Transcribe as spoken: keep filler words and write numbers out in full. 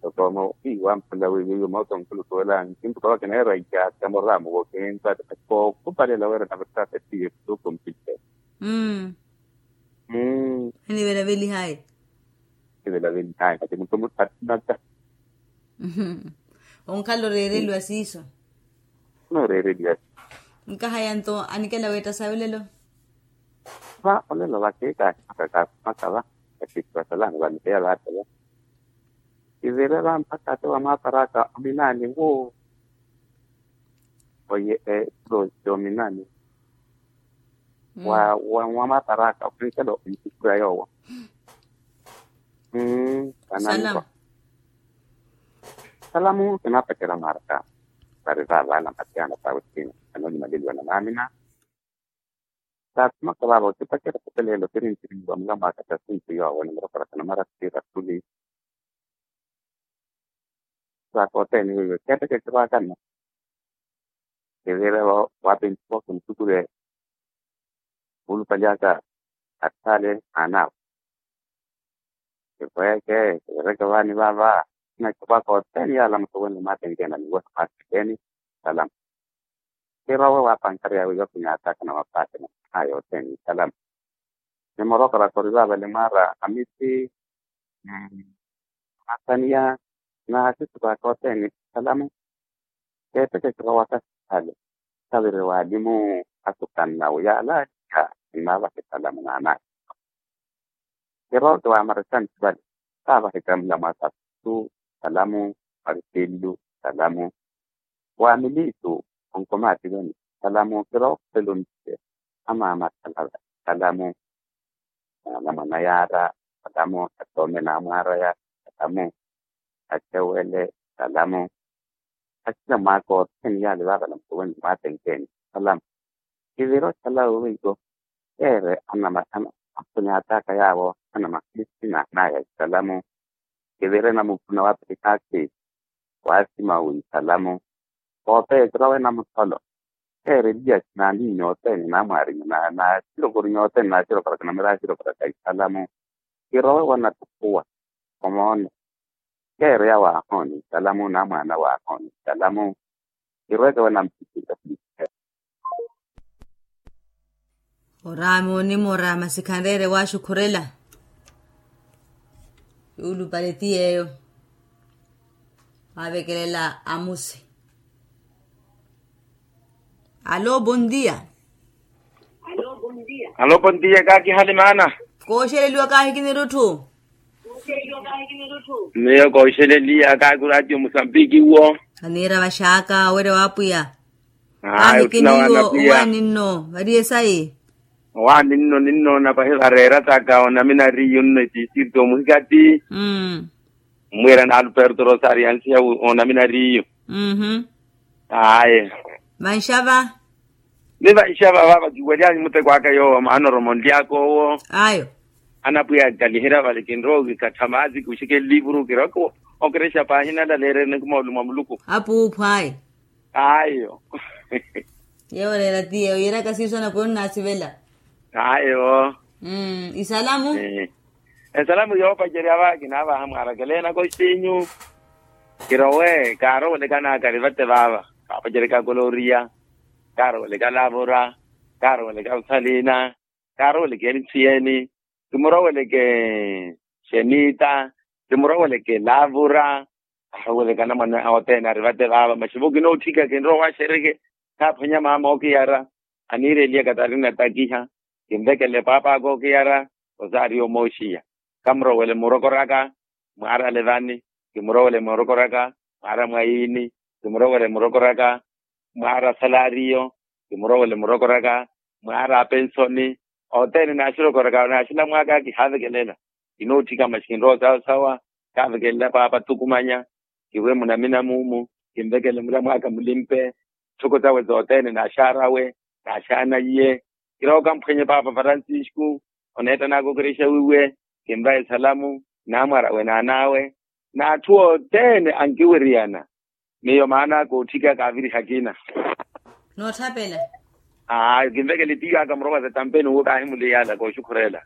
Tokomo ii wampula wiiwiiwi mooto nkuluku wela nkintuka wakinera iyaka moraamu wokinza. Kookupalela wira navirtasa tiye tuku mpite. Anivelavelihayi. Anivelavelihayi kati mutumu attinata. Onkhala oreereliwa siiso. Nooreereliwa. Nkahaya nto anikela weetta sayi olelo. Va olelo vakeekaakimakaka makava. Kati vasalani vanikeya vaatela. Kivire va mpakha ate wamwaparaka ominaani wu. Oye eprosi ominaani. Wa wa wamwaparaka okhwinkela okhwinkukura yoowo. Mmm. Salamu. Salamu kinapacerya mwaraka. Vari vavaala matiana pawe sina. Anolimaleliwa na maamina. Saakhumaka vaava otipacerya khupeleelo kiri ntiriwa mulamwaaka tasinti yoowo nimurokoraka namara sira khuli. Saakoothene wiiwe keeteke ekirwaaka nno. Kivire waapintiwa khuntukure. Vuulupali aka atthale. Aanaawe. Kivweke kivireke vaani vaava. Nakipwaka othene yaala mutuwene mwatenkena niwona mwatenkeni. Salama. Kirowe waapankarya wiiwa kinyaataka na mapaate na aya othene salama. Nimorokoraka ori vaavale mwaara amisi. Masaniya na asisuku aka othene. Salamu. Keeteke kirowaka sihale. Khaviri waalimu asukannawe yaalaaliha. Nnaavaha esalamu naanaaka. Kirooke waamara esanthi vale. Khaavaha ekamula mwaasa. Salamu. Marisilu. Salamu. Waamiliitu onkomaati vani. Salamu kirooke okhupela ontiye. Amaama akhala vale. Salamu. Anamwana yaara. Salamu. Atoome naamwaaraya. Salamu. Achewele. Salamu. Achila mwaaka othene yaali vaavale mutuwene mwatenkeni. Salamu. Kivira othalawe weiwo. Keere anama akhunyaataka yaawo anama khisina naya isalamu. Kivire namupuna wa pirikhaakhi. Waasima wi isalamu. Koopeya ekira wena mutholo. Keere eliya sinaani nyoothene naamwaari naasirokori nyoothene naasirokoraka namira asirokoraka isalamu. Kirowe wanattukuwa. Omoone. Keereya waahooni salamu na mwaana waahooni salamu. Kirweke wena mpikisa. Oraami onimoora masi khanreere waaxukhurela. Yuulupale ti yeeyo. Waavekelela amusi. Alo bondia. Alo bondia kaakihali maana. Kooxeleliwa kaahikinirutthu. Miyo kooxeleliya kaakuraatiyo musambiki wo. Aniira vaxaaka owerya wa apwiya. Ayo tuna wana pia. Owaani nno variye sayi. Owaani nno ninnoona pahi vareera taka onamina riyo nno etiisirto omuhikati. Mmwira na alberto rosario ansiya onaminariyo. Aye. Vanxava. Ni vanxava vava kiwelyaani muteko aka yoowo maana oromonlyaka owo. Ayo. Anapwiya akaliherya vale kinrowa okikhattha maazi kiwuxeke livuru kirowa okerexa paahi nalaleererene kumoolumo a muluku. Apuuphu ayi. Ayo. Yeewo oreera ti yeewo yiiraka siiso anapwiya onnaasivela. Ayo. Isalamu. Esalamu yoopacerya va kinaavaha mwaarakeleenaka oxinyu. Kirowe kaarowelekana kari vate vaava. Kaapaceryaka koloria. Kaaroweleka lavura. Kaaroweleka usalina. Kaaroweleke eni nthiyeni. Kimuroweleke xenita. Kimuroweleke lavura. Arowelekana mwana othene ari vate vaava masi vo kinootthika kinrowa waxereke. Khaaphwanya maama okiyara. Aniireliye katarina takiha. Kinvekele paapa aka okiyara. Osaariyo mooxiya. Kamurowele murokoraka. Mwaara levani. Kimurowele murokoraka. Mwaara mwayiini. Kimurowele murokoraka. Mwaara salariyo. Kimurowele murokoraka. Mwaara apensoni. Othene naaxirokoraka naaxilamwaka kihaavekelela. Kinootthika masi kinrowa sawasawa. Kaavekelela paapa tukumanya. Kiwe munamina muumu. Kinvekele mulamwaka mulimpe. Tthoko tawe tothene naaxaarawe. Naaxaanaiye. Kirowa okamphwenye paapa francisco. Oneettanaka okerexa wiiwe. Kinvaye salamu. Naamwarawe naanawe. N'atthu othene ankiwiriyana. Miyo maana kootthika kaaviriha akina. Nootthapela. Aa kinvekele tiyo aka murowa za tampeni uwo kaahimuliyala kooxukhurela.